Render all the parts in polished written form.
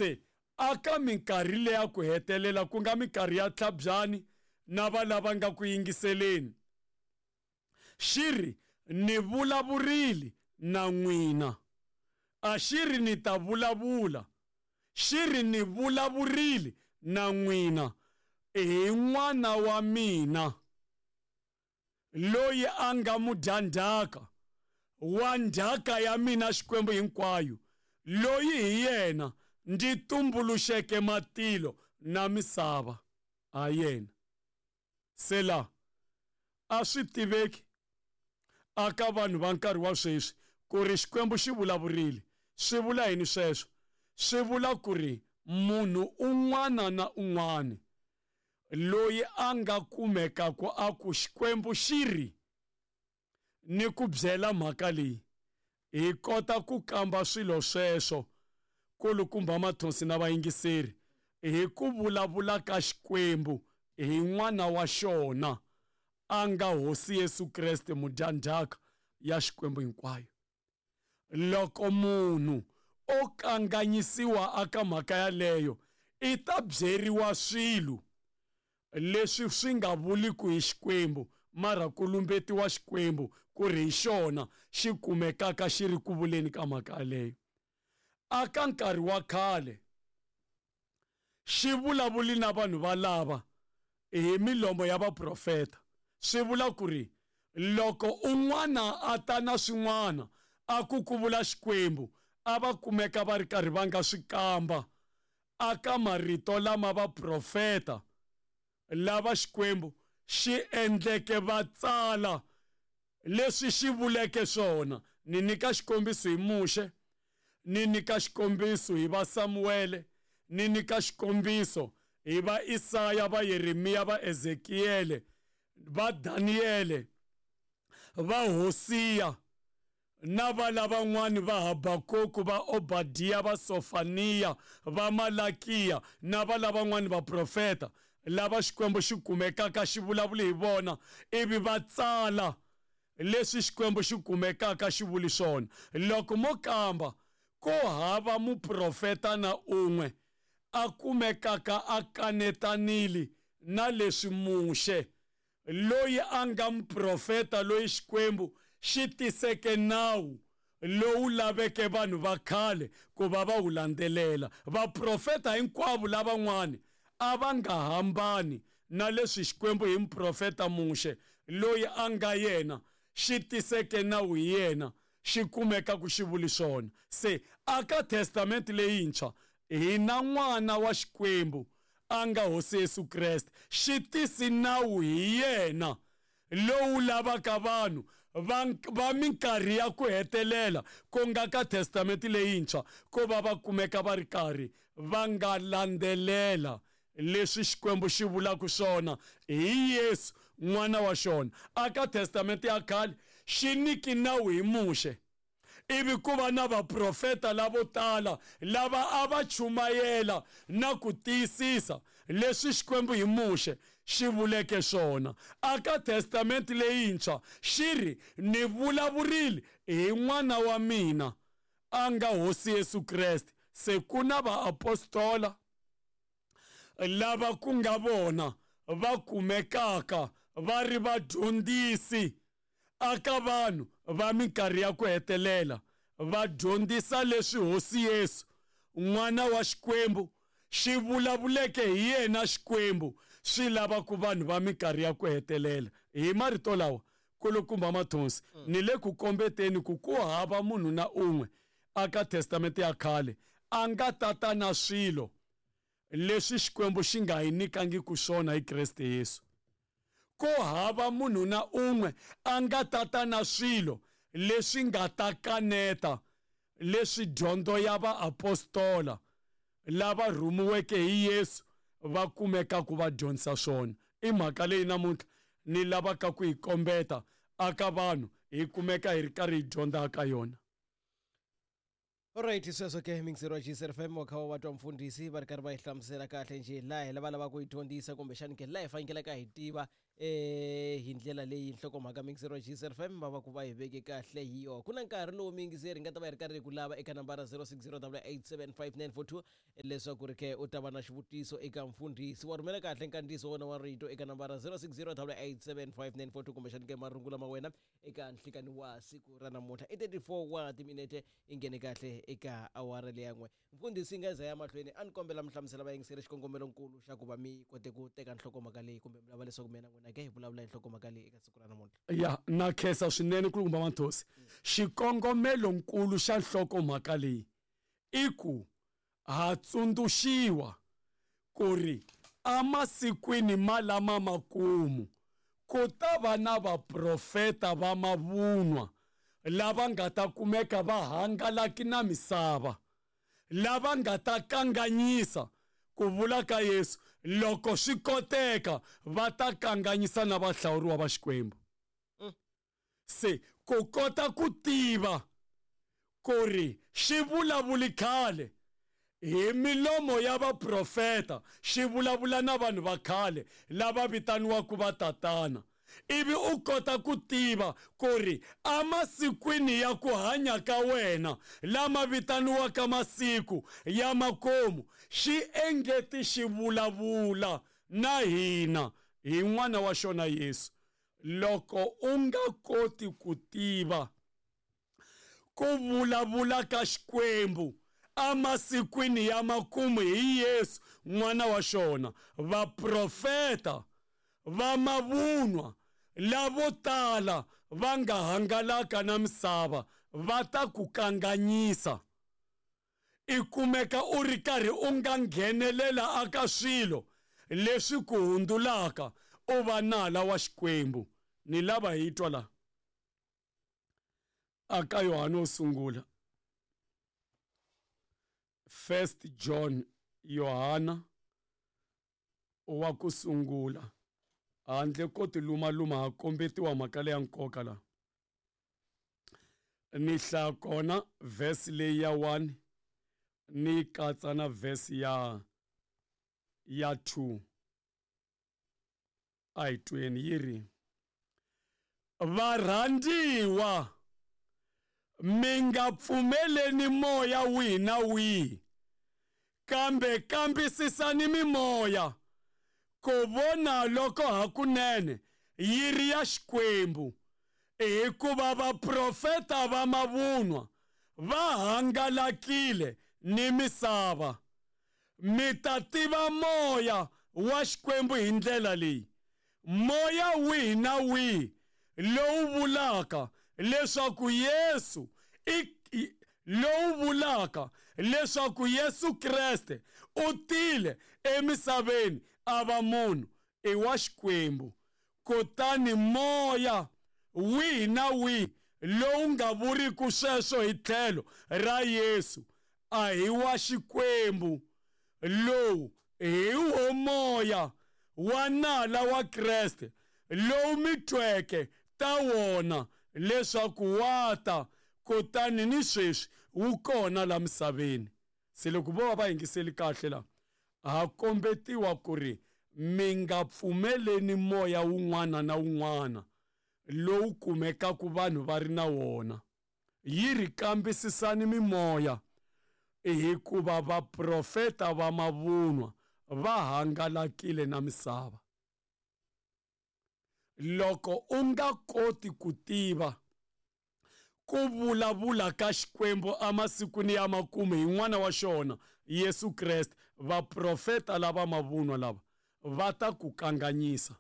Se aka minkarhi leya ku hetelela ku nga minkarhi ya tlhabyani na va lava nga ku yingiseleni xi ri ni vulavurile na n'wina a xi ri ni ta vulavula xi ri ni vulavurile na n'wina hi n'wana wa mina loyi a nga mudyandzhaka wa ndzhaka ya mina Xikwembu hinkwayo loyi hi yena ndzi tumbuluxeke matilo na misava ha yena se la a swi tiveki aka vanhu va nkarhi wa sweswi ku ri Xikwembu xi vulavurile swi vula yini sweswo swi vula ku ri munhu un'wana na un'wana loyi a nga kumekaka a ku Xikwembu xi ri ni ku byela mhaka leyi hi kota ku kamba swilo sweswo kulukumba mathonsi na vayingiseri hi ku vulavula ka Xikwembu hi n'wana wa xona a nga Hosi Yesu Kreste mudyandzhaka ya Xikwembu hinkwayo loko munhu o kanganyisiwa aka mhaka yaleyo i ta byeriwa swilo leswi swi nga vuliku hi Xikwembu mara ku lumbetiwa Xikwembu ku ri hi xona xi kumekaka xi ri ku vuleni ka mhaka yaleyo aka nkarhi wa khale xi vulavuli na vanhu valava hi milomo ya vaprofeta swi vula ku ri loko un'wana a ta na swin'wana a ku ku vula Xikwembu a va kumeka va ri karhi va nga swi kamba aka marito lama vaprofeta lava Xikwembu xi endleke va tsala leswi xi vuleke swona ni nyika xikombiso hi Muxe ni nyika xikombiso hi va Samuele ni nyika xikombiso hi va Isaya va Yeremiya va Ezekiele va Daniele va Hosiya na va lavan'wani va Habakuku va Obadiya va Sofaniya va Malakiya na va lavan'wani vaprofeta lava Xikwembu xi kumekaka xi vulavule hi vona ivi va tsala leswi Xikwembu xi kumekaka xi vuli swona loko mo kamba ku hava muprofeta na un'we a kumekaka a kanetanile na leswi Muxe loyi a nga muprofeta loyi Xikwembu xi tiseke nawu lowu laveke vanhu va khale ku va va wu landzelela vaprofeta hinkwavo lavan'wani a va nga hambani na leswi Xikwembu hi muprofeta Muxe loyi a nga yena xi tiseke nawu hi yena xi kumeka ku xi vuli swona se aka testamente leyintshwa hi na n'wana wa Xikwembu a nga Hosi Yesu Kreste xi tisi nawu hi yena lowu lavaka vanhu va, va minkarhi ya ku hetelela ku nga ka testamente leyintshwa ku va va kumeka va ri karhi va nga landzelela leswi Xikwembu xi vulaka swona hi Yesu n'wana wa xona aka testamente ya khale xi nyiki nawu hi Muxe ivi ku va na vaprofeta lavo tala lava a va chumayela na ku tiyisisa leswi Xikwembu hi Muxe xi vuleke swona aka testamente leyintshwa xi ri ni vulavurile hi n'wana wa mina a nga Hosi Yesu Kreste se ku na vaapostola lava ku nga vona va kumekaka va ri vadyondzisi aka vanhu va minkarhi ya ku hetelela va dyondzisa leswi Hosi Yesu n'wana wa Xikwembu xi vulavuleke hi yena Xikwembu swi lava ku vanhu va minkarhi ya ku hetelela hi marito lawa kulukumba mathonsi ni le ku kombeteni ku ku hava munhu na un'we aka testamente ya khale a nga tata na swilo leswi Xikwembu xi nga hi nyikangiki swona hi Kreste Yesu ku hava munhu na un'we a nga tata na swilo leswi nga ta kaneta leswi dyondzo ya vaapostola lava rhumiweke hi Yesu va kumekaka va dyondzisa swona i mhaka leyi namuntlha ni lavaka ku yi kombeta aka vanhu hi kumeka hi ri karhi hi dyondza ka yona. Alright sweswo ke mixero wa GCR FM wa kha wa twa mfundhisi va ri karhi va yi hlamusela kahle njhe laha hi lava lavaka ku yi dyondzisa kumbexani ke laha hi fanekelaka hi tiva Hi ndlela leyi nhlokomhaka muyingiseri wa GCR FM va va ku va hi veke kahle hi yona. Ku na nkarhi lowu muyingiseri hi nga ta va hi ri karhi hi ku lava eka nambara 0608875942 leswaku ri ke u ta va na xivutiso eka mfundhisi. Wa rhumela kahle nkandziyiso wa wena wa rito eka nambara 0608875942 kumbexani ke marungula ma wena eka nhlikani wa siku ra namuntlha. I 34 wa timinete i nghene kahle eka awara leya n'we. Mfundhisi nga za ya mahlweni a ni kombela mi hlamusela vayingiseri xikongomelonkulu xa ku va mi kote ku teka nhlokomhaka leyi kumbe mi lava leswaku mina n'wina ke hi vulavula hi nhlokomhaka leyi eka siku ra namuntlha. Ya na khensa swinene kulukumba Manthosi. Xikongomelonkulu xa nhlokomhaka leyi i ku ha tsundzuxiwa ku ri emasikwini malama makumu ku ta va na vaprofeta va mavunwa lava nga ta kumeka va hangalaki na misava, lava nga ta kanganyisa ku vula ka Yesu, loko swi koteka va ta kanganyisa na vahlawuriwa va Xikwembu. Se ku kota ku tiva ku ri xi vulavuli khale hi milomo ya vaprofeta, xi vulavula na vanhu va khale lava vitaniwaka vatatana, ivi u kota ku tiva ku ri emasikwini ya ku hanya ka wena lama vitaniwaka masiku ya makumu, xi engeti xi vulavula na hina hi n'wana wa xona Yesu. Loko u nga koti ku tiva ku vulavula ka Xikwembu emasikwini ya makumu hi Yesu n'wana wa xona, vaprofeta va mavunwa lavo tala va nga hangalaka na misava va ta ku kanganyisa. I kumeka u ri karhi u nga nghenelela aka swilo leswi ku hundzulaka u va nala wa Xikwembu. Ni lava hi twa la aka Yohane wo sungula, First John, Yohana wa ku sungula, handle ko tilumaluma ha kombetiwa mhaka leya nkoka la. Ni hlaya kona verse leyi ya 1 ni katsa na verse ya 2. A hi tweni yi ri: varhandziwa, mi nga pfumeleni moya wihi na wihi, kambe kambisisani mimoya ku vona loko hakunene yi ri ya Xikwembu, hikuva vaprofeta va mavunwa va hangalakile ni misava. Mi ta tiva moya wa Xikwembu hi ndlela leyi: moya wihi na wihi lowu vulaka leswaku Yesu lowu vulaka leswaku Yesu Kreste u tile emisaveni a va munhu i wa Xikwembu. Kutani moya wihi na wihi lowu nga vuriku sweswo hi tlhelo ra Yesu a hi wa Xikwembu. Lowu hi wo moya wa nala wa Kreste lowu mi tweke ta wona leswaku wa ta, kutani ni sweswi wu kona la misaveni. Se loko vo va va yingiseli kahle la, ha kombetiwa ku ri mi nga pfumeleni moya wun'wana na wun'wana lowu kumekaka vanhu va ri na wona. Yi ri kambisisani mimoya, hikuva vaprofeta va mavunwa va hangalakile na misava. Loko u nga koti ku tiva ku vulavula ka Xikwembu emasikwini ya makumu hi n'wana wa xona Yesu Kreste, vaprofeta lava mavunwa lava va ta ku kanganyisa.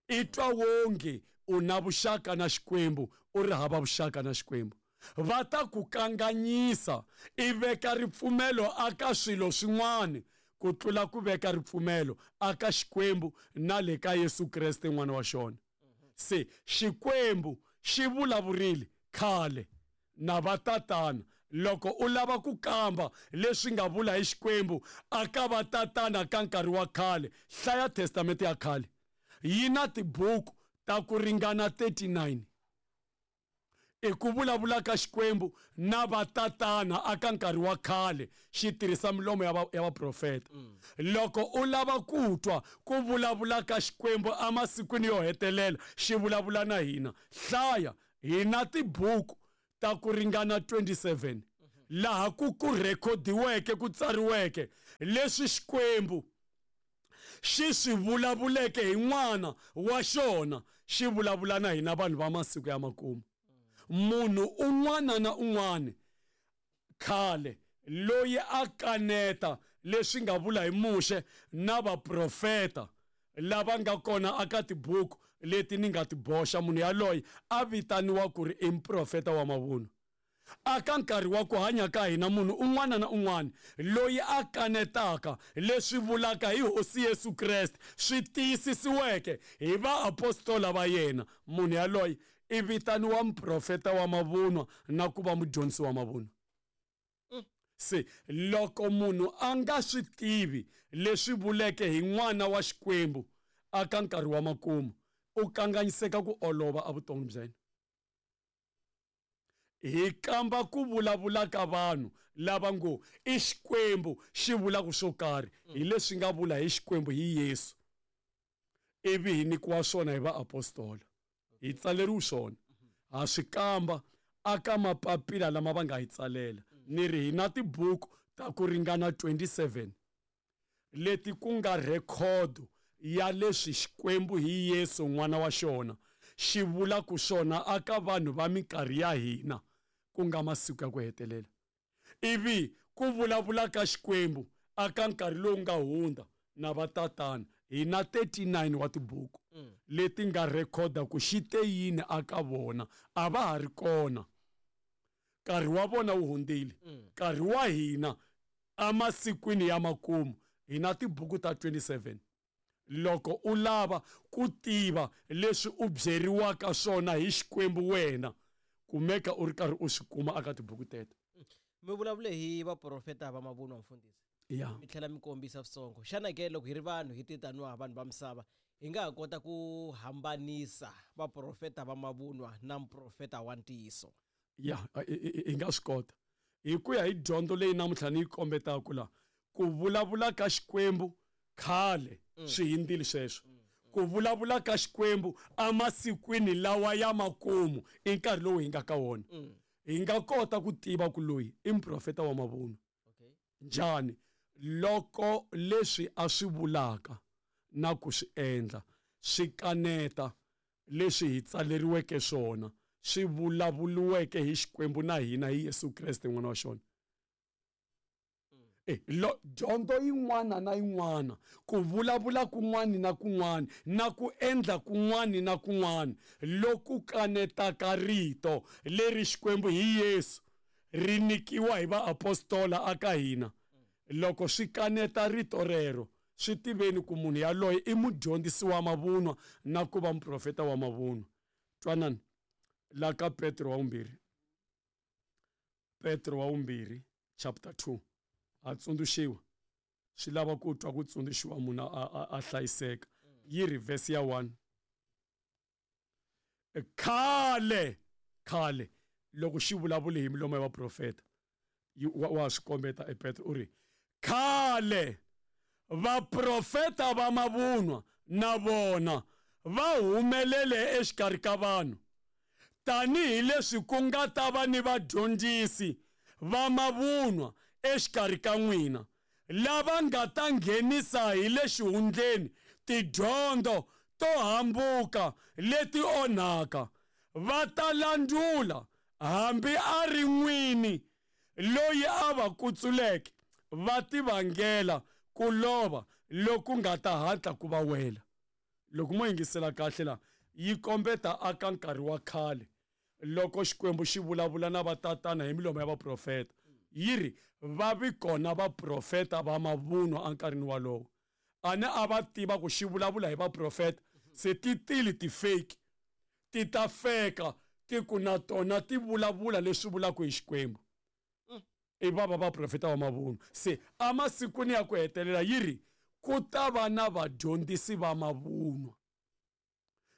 I twa wonge u na vuxaka na Xikwembu, u ri hava vuxaka na Xikwembu. Va ta ku kanganyisa, i veka ripfumelo aka swilo swin'wana ku tlula ku veka ripfumelo aka Xikwembu na le ka Yesu Kreste n'wana wa xona. Se Xikwembu xi vulavurile khale na vatatana. Loko u lava ku kamba leswi nga vula hi Xikwembu aka vatatana ka nkarhi wa khale, hlaya Testamente ya khale. Yi na tibuku ta ku ringana 39. I ku vulavula ka Xikwembu na vatatana aka nkarhi wa khale xi tirhisa milomo ya ya vaprofeta. Loko u lava ku twa ku vulavula ka Xikwembu emasikwini yo hetelela xi vulavula na hina, hlaya hi na tibuku ta ku ringana 27 laha ku ku rhekhodiweke ku tsariweke leswi Xikwembu xi swi vulavuleke hi N'wana wa xona xi vulavula na hina vanhu va masiku ya makumu. Munhu un'wana na un'wana khale loyi a kaneta leswi nga vula hi Muxe na vaprofeta lava nga kona aka tibuku leti ni nga ti boxa, munhu yaloye a vitaniwa ku ri i muprofeta wa mavunwa. Aka nkarhi wa ku hanya ka hina, munhu un'wana na un'wana loyi a kanetaka leswi vulaka hi Hosi Yesu Kreste swi tiyisisiweke hi vaapostola va yena, munhu yaloye i vitaniwa muprofeta wa mavunwa na ku va mudyondzisi wa mavunwa. Se loko munhu a nga swi tivi leswi vuleke hi N'wana wa Xikwembu aka nkarhi wa makumu, u kanganyiseka ku olova evuton'wini bya yena. Hi kamba ku vulavula ka vanhu lava ngo i Xikwembu xi vulaka swo karhi hi leswi nga vula hi Xikwembu hi Yesu, ivi hi nyikiwa swona hi vaapostola. Hi tsaleriwe swona. Ha swi kamba aka mapapila lama va nga hi tsalela. Ni ri hi na tibuku ta ku ringana 27 leti ku nga rhekhodo ya leswi Xikwembu hi Yesu N'wana wa xona xi vulaka swona aka vanhu va minkarhi ya hina, ku nga masiku ya ku hetelela. Ivi ku vulavula ka Xikwembu aka nkarhi lowu nga hundza na vatatana, hi na 39 wa tibuku leti nga rhekhoda ku xi te yini aka vona, a va ha ri kona. Nkarhi wa vona wu hundzile. Nkarhi wa hina emasikwini ya makumu hi na tibuku ta 27. Loko u lava ku tiva leswi u byeriwaka swona hi Xikwembu wena, kumeka u ri karhi u swi kuma aka tibuku teto. Mi vulavule hi vaprofeta va mavunwa, mfundhisi. Ya. Mi tlhela mi kombisa switsongo. Xana ke loko hi ri vanhu hi ti taniwa vanhu va misava, hi nga ha kota ku hambanisa vaprofeta va mavunwa na muprofeta wa ntiyiso? Ya, hi nga swi kota. Hi ku ya hi dyondzo leyi namuntlha ni yi kombetaka la, ku vulavula ka Xikwembu khale swi hindzile sweswo. Ku vulavula ka Xikwembu emasikwini lawa ya makumu i nkarhi lowu hi nga ka wona. Hi nga kota ku tiva ku loyi i muprofeta wa mavunwa. Njhani? Loko leswi a swi vulaka na ku swi endla swi kaneta leswi hi tsaleriweke swona, swi vulavuriweke hi Xikwembu na hina hi Yesu Kreste N'wana wa xona. Dyondzo yin'wana na yin'wana, ku vulavula kun'wana na kun'wana, na ku endla kun'wana na kun'wana loku kanetaka rito leri Xikwembu hi Yesu ri nyikiwa hi vaapostola aka hina, loko swi kaneta rito rero, swi tiveni ku munhu yaloye i mudyondzisi wa mavunwa na ku va muprofeta wa mavunwa. Twanani la ka Petro wa vumbirhi, Petro wa vumbirhi chapter 2, ha tsundzuxiwa, swi lava ku twa ku tsundzuxiwa munhu a hlayiseka. Yi ri verse ya 1, khale khale loko xi vulavule hi milomo ya vaprofeta, wa swi kombeta e Petro u ri khale vaprofeta va mavunwa na vona va humelele exikarhi ka vanhu, tanihileswi ku nga ta va ni vadyondzisi va mavunwa exikarhi ka n'wina, lava nga ta nghenisa hi le xihundleni tidyondzo to hambuka leti onhaka, va ta landzula hambi a ri n'wini loyi a va kutsuleke, va tivangela ku lova loku nga ta hatla ku va wela. Loko mo yingisela kahle la, yi kombeta aka nkarhi wa khale loko Xikwembu xi vulavula na vatatana hi milomo ya vaprofeta, yi ri va vi kona vaprofeta va mavunwa enkarhini walowo. A ni a va tiva ku xi vulavula hi vaprofeta, se ti tile ti-fake, ti ta feka ti ku na tona ti vulavula leswi vulaka hi Xikwembu. I va va vaprofeta va mavunwa. Se emasikwini ya ku hetelela yi ri ku ta va na vadyondzisi va mavunwa.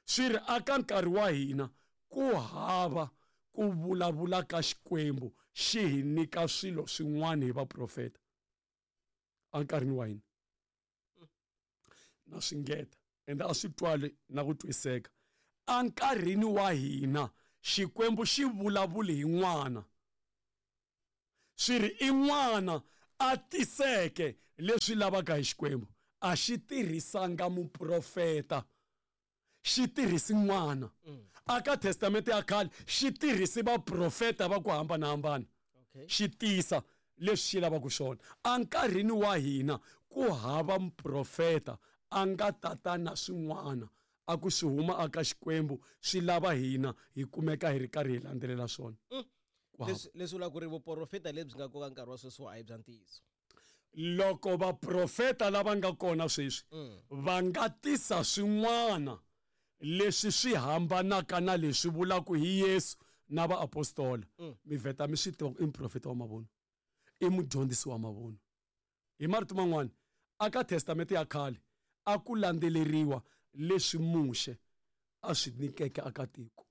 Swi ri aka nkarhi wa hina ku hava ku ku vulavula ka Xikwembu xi hi nyika swilo swin'wana hi vaprofeta enkarhini wa hina. Na swi ngeta ende a swi twali na ku twiseka. Enkarhini wa hina Xikwembu xi vulavuli hi n'wana, swi ri i n'wana a tiseke leswi lavaka hi Xikwembu, a xi tirhisanga muprofeta, xi tirhisi n'wana. Aka testamente ya khale xi tirhisi vaprofeta va ku hambanahambana, xi tisa leswi xi lavaka swona. Enkarhini wa hina ku hava muprofeta a nga tata na swin'wana a ku swi huma aka Xikwembu swi lava hina hi kumeka hi ri karhi hi landzelela swona. Leswi vulaka ku ri vuprofeta lebyi nga koka nkarhi wa sweswi a hi bya ntiyiso. Loko vaprofeta lava nga kona sweswi va nga tisa swin'wana leswi swi hambanaka na leswi vulaka hi Yesu na vaapostola, mi vheta mi swi tiva ku i muprofeta wa mavunwa, i mudyondzisi wa mavunwa. Hi marito man'wana, aka testamente ya khale a ku landzeleriwa leswi Muxe a swi nyikeke aka tiko,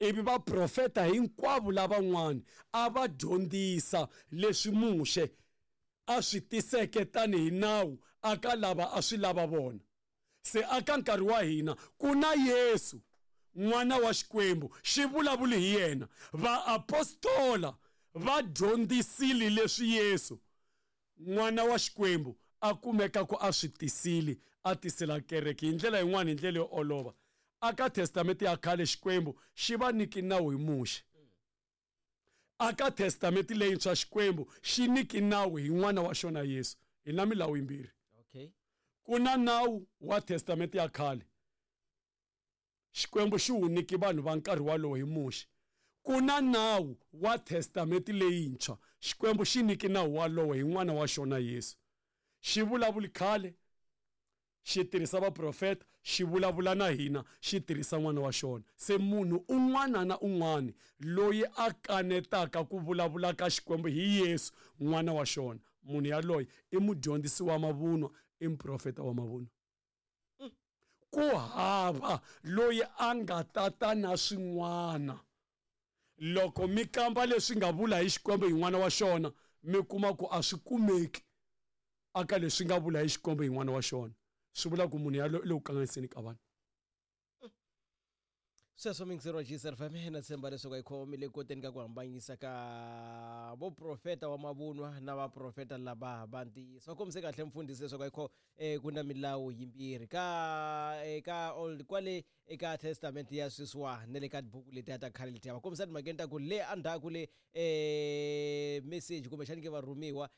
ivi vaprofeta hinkwavo lavan'wana a va dyondzisa leswi Muxe a swi tiseke tanihi nawu aka lava a swi lava vona. Se aka nkarhi wa hina ku na Yesu n'wana wa Xikwembu, xi vulavuli hi yena. Vaapostola va dyondzisile leswi Yesu n'wana wa Xikwembu a kumeka ku a swi tisile, a tisela kereke hi ndlela yin'wana, hi ndlela yo olova. Aka testamente ya khale Xikwembu xi va nyiki nawu hi Muxe. Aka testamente leyintshwa Xikwembu xi nyiki nawu hi n'wana wa xona Yesu. Hi na milawu yimbirhi. Ku na nawu wa testamente ya khale, Xikwembu xi wu nyiki vanhu va nkarhi walowo hi Muxe. Ku na nawu wa testamente leyintshwa, Xikwembu xi nyiki nawu walowo hi n'wana wa xona Yesu. Xi vulavuli khale, xi tirhisa vaprofeta, xi vulavula na hina, xi tirhisa n'wana wa xona. Se munhu un'wana na un'wana loyi a kanetaka ku vulavula ka Xikwembu hi Yesu n'wana wa xona, munhu yaloye i mudyondzisi wa mavunwa, i muprofeta wa mavunwa. Ku hava loyi a nga tata na swin'wana. Loko mi kamba leswi nga vula hi Xikwembu hi n'wana wa xona, mi kuma ku a swi kumeki aka leswi nga vula hi Xikwembu hi n'wana wa xona. Swi vula ku munhu yaloye i le ku kanganyiseni ka vanhu. Sweswo miyingiseri wa GCR FM, na tshemba leswaku hi khomile koteni ka ku hambanyisa ka vuprofeta wa mavunwa na vaprofeta lava va ntiyiso. Va kombise kahle mfundhisi leswaku ayikho ku na milawu yimbirhi ka eka old kwale eka testament ya sweswiwa na le ka tibuku letiya ta khale letiya. Va kombisa timhakeni ta ku le endzhaku le message kumbexani ke varhumiwa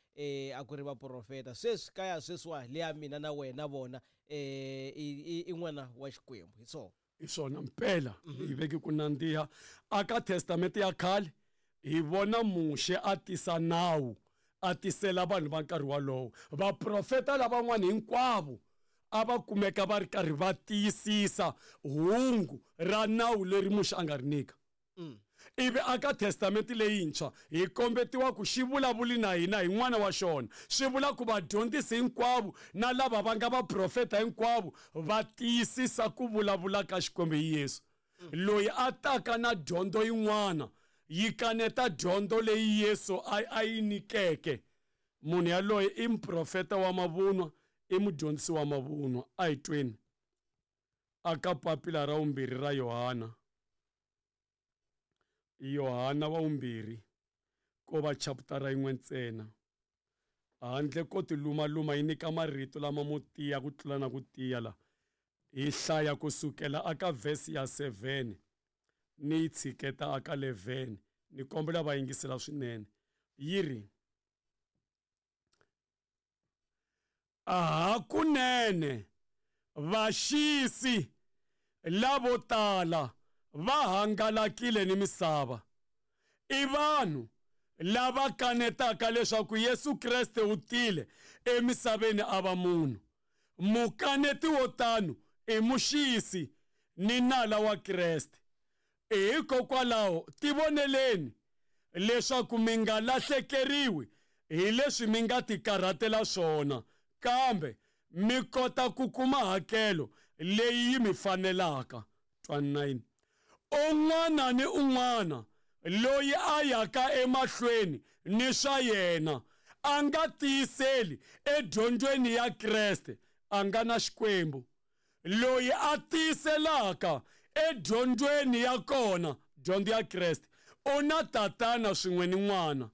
a ku ri vaprofeta, sweswi ka ya sweswiwa le ya mina na wena vona i n'wana wa Xikwembu. Hi swona. Hi swona mpela hi veke ku nandziha. Aka testamente ya khale hi vona Muxe a tisa nawu, a tisela vanhu va nkarhi walowo. Vaprofeta lavan'wana hinkwavo a va kumeka va ri karhi va tiyisisa hungu ra nawu leri Muxe a nga ri nyika. Ivi aka testamente leyintshwa hi kombetiwa ku xi vulavuli na hina hi n'wana wa xona. Swi vula ku vadyondzisi hinkwavo na lava va nga vaprofeta hinkwavo va tiyisisa ku vulavula ka Xikwembu hi Yesu. Loyi a taka na dyondzo yin'wana yi kaneta dyondzo leyi Yesu a yi nyikeke, munhu yaloye i muprofeta wa mavunwa, i mudyondzisi wa mavunwa. A hi tweni aka papila ra vumbirhi ra Yohana. Yohana wa vumbirhi ko va chaputara yin'we ntsena. Handle ko tilumaluma yi nyika marito lama mo tiya ku tlula na ku tiya la. Hi hlaya kusukela aka verse ya 7 ni yi tshiketa aka 11. Ni kombela va yingisela swinene. Yi ri, Hakunene vaxisi lavo tala va hangalakile ni misava. I vanhu lava kanetaka leswaku Yesu Kreste u tile emisaveni a va munhu. Mukaneti wo tano i muxisi ni nala wa Kreste. Hikokwalaho tivoneleni leswaku mi nga lahlekeriwi hi leswi mi nga tikarhatela swona, kambe mi kota ku kuma hakelo leyi yi mi fanelaka. 29 Un'wana ni un'wana Loyi a yaka emahlweni ni swa yena, a nga tiyiseli edyondzweni ya Kreste, a nga na Xikwembu. Loyi a tiyiselaka edyondzweni ya kona, dyondzo ya Kreste, u na Tatana swin'we ni N'wana.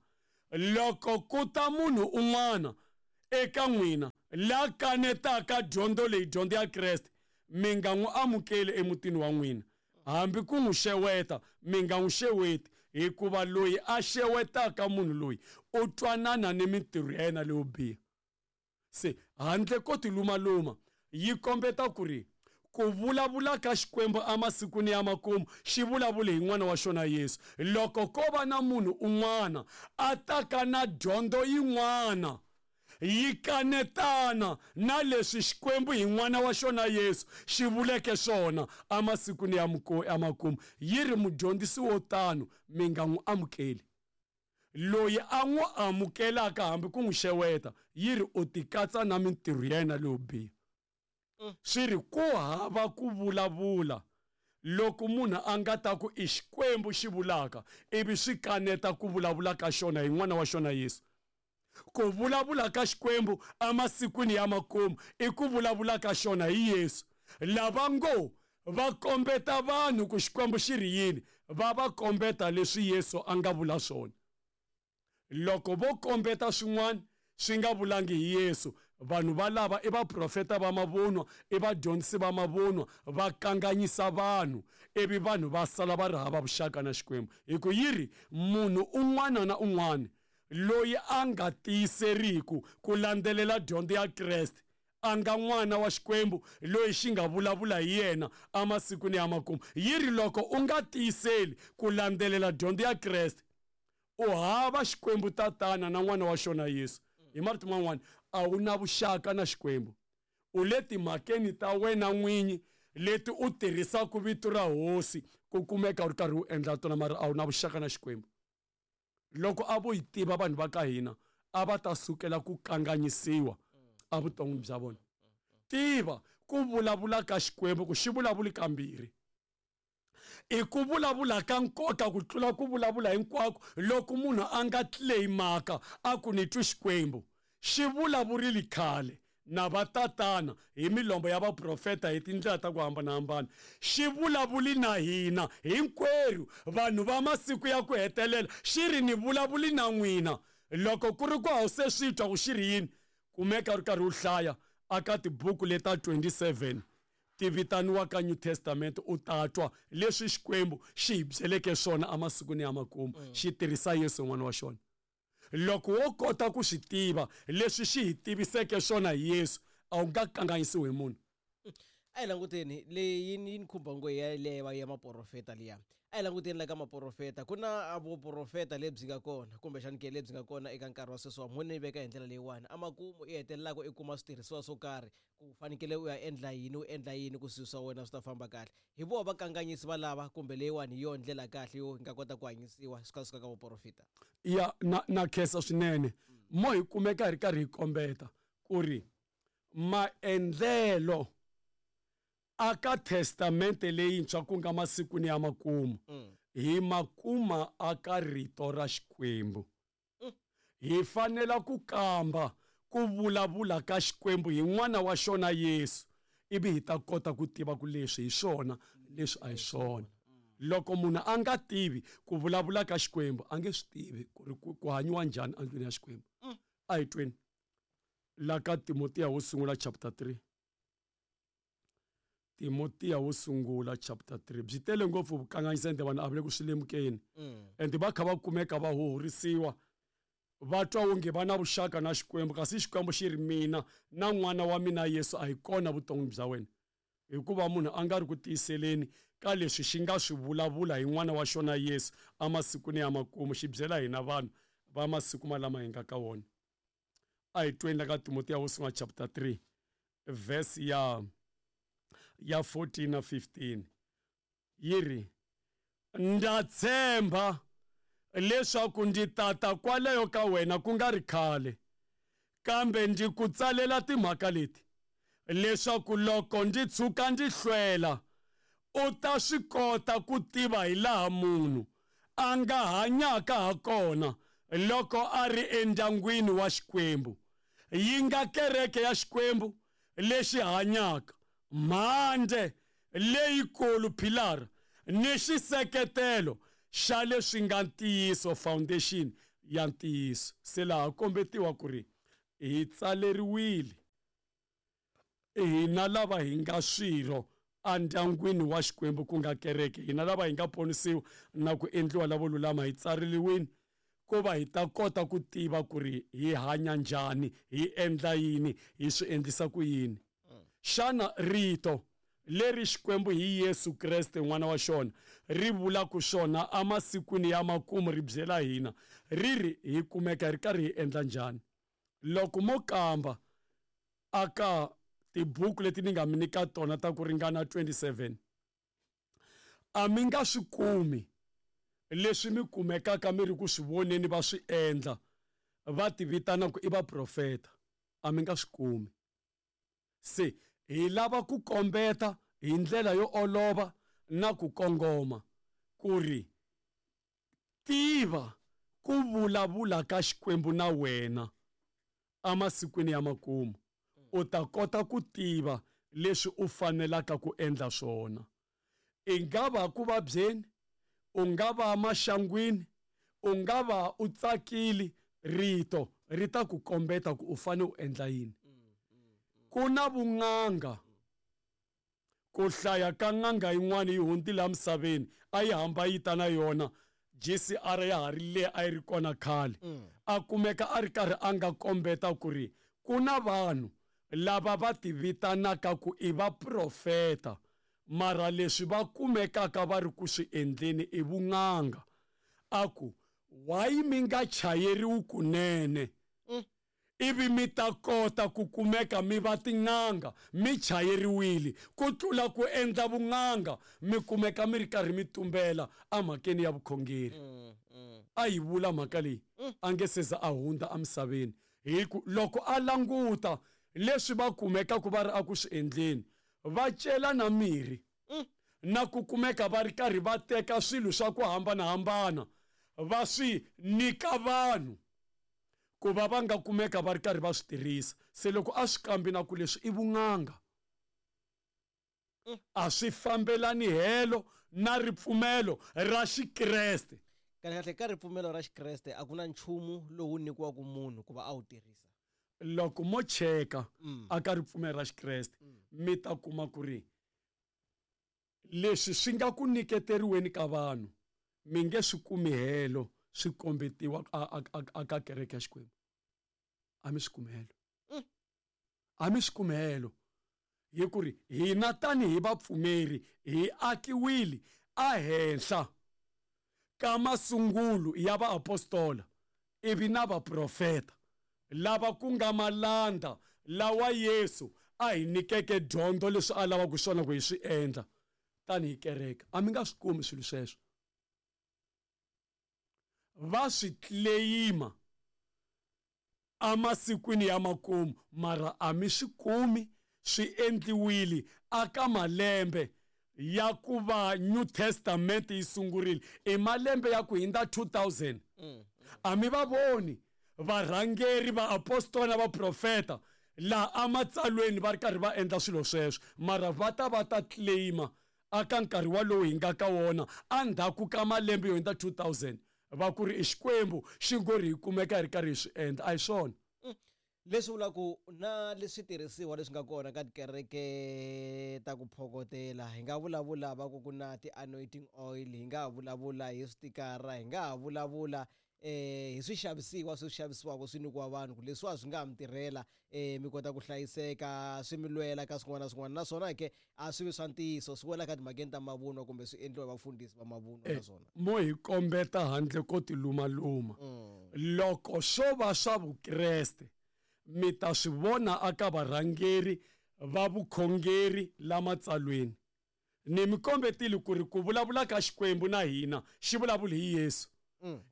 Loko ku ta munhu un'wana eka n'wina la kanetaka dyondzo leyi, dyondzo ya Kreste, mi nga n'wi amukeli emutini wa n'wina, hambi ku n'wi xeweta, mi nga n'wi xeweti, hikuva loyi a xewetaka munhu loyi u twanana ni mintirho ya yena leyo biha. Se handle ko tilumaluma, yi kombeta ku ri ku vulavula ka Xikwembu emasikwini ya makumu xi vulavule hi N'wana wa xona Yesu. Loko ko va na munhu un'wana a taka na dyondzo yin'wana yi kanetana na leswi Xikwembu hi N'wana wa xona Yesu xi vuleke swona emasikwini ya ya makumu, yi ri mudyondzisi wo tano mi nga n'wi amukeli. Loyi a n'wi amukelaka hambi ku n'wi xeweta, yi ri u tikatsa na mintirho ya yena leyo biha. Swi ri ku hava ku vulavula loko munhu a nga ta ku i Xikwembu xi vulaka ivi swi kaneta ku vulavula ka xona hi N'wana wa xona Yesu. Ku vulavula ka Xikwembu emasikwini ya makumu i ku vulavula ka xona hi Yesu. Lava ngo va kombeta vanhu ku Xikwembu xi ri yini, va va kombeta leswi Yesu a nga vula swona. Loko vo kombeta swin'wana swi nga vulangi hi Yesu, vanhu valava i vaprofeta va mavunwa, i vadyondzisi va mavunwa, va kanganyisa vanhu, ivi vanhu va sala va ri hava vuxaka na Xikwembu. Hi ku yi ri, munhu un'wana na un'wana loyi a nga tiyiseriku ku landzelela dyondzo ya Kreste, a nga n'wana wa Xikwembu loyi xi nga vulavula hi yena emasikwini ya makumu. Yi ri, loko u nga tiyiseli ku landzelela dyondzo ya Kreste, u hava Xikwembu Tatana na N'wana wa xona Yesu. Hi marito man'wana, a wu na vuxaka na Xikwembu. U le timhakeni ta wena n'winyi leti u tirhisaka vito ra Hosi ku kumeka u ri karhi u endla tona, mara a wu na vuxaka na Xikwembu. Loko a vo yi tiva vanhu va ka hina, a va ta sukela ku kanganyisiwa evuton'wini bya vona. Tiva ku vulavula ka Xikwembu ku xi vulavuli kambirhi. I ku vulavula ka nkoka ku tlula ku vulavula hinkwako loko munhu a nga claimaka a ku ni twi Xikwembu. Xi vulavurile khale na vatatana hi milombo ya vaprofeta hi tindlela ta ku hambanahambana. Xi vulavuli na hina hinkwerhu vanhu va masiku ya ku hetelela, xi ri ni vulavuli na n'wina. Loko ku ri ku a wu se swi twa ku xi ri yini, kumeka u ri karhi u hlaya aka tibuku leta 27 ti vitaniwaka New Testament, u ta twa leswi Xikwembu xi hi byeleke swona emasikwini ya makumu, xi tirhisa Yesu N'wana wa xona. Loko wo kota ku swi tiva leswi xi hi tiviseke swona hi Yesu, a wu nga kanganyisiwi hi munhu. A hi languteni leyi yi ni khumba ngo ya leya ya maprofeta liya. A hi languteni la ka maprofeta, ku na vuprofeta lebyi nga kona kumbexani ke lebyi nga kona eka nkarhi wa sweswiwa, mo ni veka hi ndlela leyiwani, emakumu i hetelelaka i kuma switirhisiwa swo karhi ku fanekele u ya endla yini, u endla yini ku swilo swa wena swi ta famba kahle. Hi voho vakanganyisi valava kumbe leyiwani hi yona ndlela kahle yo hi nga kota ku hanyisiwa swi kha swi ka ka vuprofeta? Ya, na na khensa swinene. Mo hi kumeka hi ri karhi hi kombeta ku ri maendlelo a ka Testamente leyintshwa ku nga masikwini ya makumu, hi ma kuma a ka Rito ra Xikwembu. Hi fanela ku kamba ku vulavula ka Xikwembu hi N'wana wa xona Yesu, ivi hi ta kota ku tiva ku leswi hi swona, leswi a hi swona. Loko munhu a nga tivi ku vulavula ka Xikwembu, a nge swi tivi ku ri ku hanyiwa njhani endlwini ya Xikwembu. A hi tweni la ka Timotiya wo sungula chapter 3. Timotiya wo sungula chapter 3 byi tele ngopfu vukanganyisi ende vanhu a va le ku swi lemukeni ende va kha va kumeka va huhurisiwa va twa onge va na vuxaka na Xikwembu, kasi Xikwembu xi ri mina na n'wana wa mina Yesu a hi kona vuton'wini bya wena, hikuva munhu a nga ri ku tiyiseleni ka leswi xi nga swi vulavula hi n'wana wa xona Yesu emasikwini ya makumu, xi byela hina vanhu va masiku malama hi nga ka wona. A hi tweni la ka Timotiya wo sungula chapter 3 verse ya 14 na 15, yi ri, Ndza tshemba leswaku ndzi tata kwalayo ka wena ku nga ri khale, kambe ndzi ku tsalela timhaka leti, leswaku loko ndzi tshuka ndzi hlwela, u ta swi kota ku tiva hi laha munhu a nga hanyaka ha kona loko a ri endyangwini wa Xikwembu, yi nga kereke ya Xikwembu lexi hanyaka, mhandze leyikulu, philara, ni xiseketelo xa leswi nga ntiyiso, foundation ya ntiyiso. Se laha kombetiwa ku ri hi tsaleriwile hina lava hi nga swirho endyangwini wa Xikwembu ku nga kereke, hina lava hi nga ponisiwa na ku endliwa lavo lulama, hi tsareliwini ku va hi ta kota ku tiva ku ri hi hanya njhani, hi endla yini, hi swi endlisa ku yini. Xana rito leri Xikwembu hi Yesu Kreste n'wana wa xona ri vulaka swona emasikwini ya makumu ri byela hina ri ri hi kumeka hi ri karhi hi endla njhani? Loko mo kamba aka tibuku leti ni nga mi nyika tona ta ku ringana 27, a mi nga swi kumi leswi mi kumekaka mi ri ku swi voneni va swi endla va ti vitana ku i vaprofeta, a mi nga swi kumi. Se hi lava ku kombeta hi ndlela yo olova na ku kongoma ku ri tiva ku vulavula ka Xikwembu na wena emasikwini ya makumu, u ta kota ku tiva leswi u fanelaka ku endla swona. I nga va ku vabyeni, u nga va maxangwini, u nga va u tsakile, rito ri ta ku kombeta ku u fanele u endla yini. Ku na vun'anga, ku hlaya ka n'anga yin'wana yi hundzile emisaveni, a yi hamba yi ta na yona GCR ya ha ri leyi a yi ri kona khale. A kumeka a ri karhi a nga kombeta ku ri ku na vanhu lava va ti vitanaka ku i vaprofeta, mara leswi va kumekaka va ri ku swi endleni i vun'anga. A ku, why mi nga chayeriwi kunene? Ivi mi ta kota ku kumeka mi va tin'anga mi chayeriwile, ku tlula ku endla vun'anga mi kumeka mi ri karhi mi tumbela emhakeni ya vukhongeri. A yi vula mhaka leyi a nge se za a hundza emisaveni, hi ku loko a languta leswi va kumekaka va ri eku swi endleni, va cela na mirhi na ku kumeka va ri karhi va teka swilo swa ku hambanahambana va swi nyika vanhu ku va va nga kumeka va ri karhi va swi tirhisa. Se loko a swi kambi na ku leswi i vun'anga, a swi fambelani helo na ripfumelo ra Xikreste. Kahle kahle ka ripfumelo ra Xikreste a ku na nchumu lowu nyikiwaka munhu ku va a wu tirhisa. Loko mo cheka aka ripfumelo ra Xikreste, mi ta kuma ku ri leswi swi nga ku nyiketeriweni ka vanhu mi nge swi kumi helo swi kombetiwa aka kereke ya Xikwembu. A mi swi kumi helo. A mi swi kumi helo. Hi ku ri hina tanihi vapfumeri hi akiwile ehenhla ka masungulo ya vaapostola ivi na vaprofeta lava ku nga malanda lawa Yesu a hi nyikeke dyondzo leswi a lavaka swona ku hi swi endla tanihi kereke. A mi nga swi kumi swilo sweswo. Va swi claim-a emasikwini ya makumu, mara a mi swi kumi swi endliwile aka malembe ya ku va New Testament yi sungurile, i malembe ya ku hindza 2000. A mi va voni varhangeri, vaapostola na vaprofeta laha ematsalweni va ri karhi va endla swilo sweswo, mara va ta va ta claim-a aka nkarhi walowu hi nga ka wona endzhaku ka malembe yo hindza 2000, va ku ri i Xikwembu xi ngo ri hi kumeka hi ri karhi hi swi endla. A hi swona. Leswi vulaka ku na leswi tirhisiwa leswi nga kona ka tikereke ta ku phokotela, hi nga vulavula va ku ku na ti-anointing oil, hi nga vulavula hi switikara, hi nga ha vulavula hi swixavisiwa swi xavisiwaka swi nyikiwa vanhu ku leswiwa swi nga ha mi tirhela, mi kota ku hlayiseka, swi mi lwela ka swin'wana na swin'wana, naswona ke a swi vi swa ntiyiso, swi wela ka timhakeni ta mavunwa kumbe swi endliwa hi vafundhisi va mavunwa naswona. Mo hi kombeta handle ko tilumaluma. Loko swo va swa Vukreste, mi ta swi vona aka varhangeri va vukhongeri la matsalweni. Ni mi kombetile ku ri ku vulavula ka Xikwembu na hina xi vulavula hi Yesu.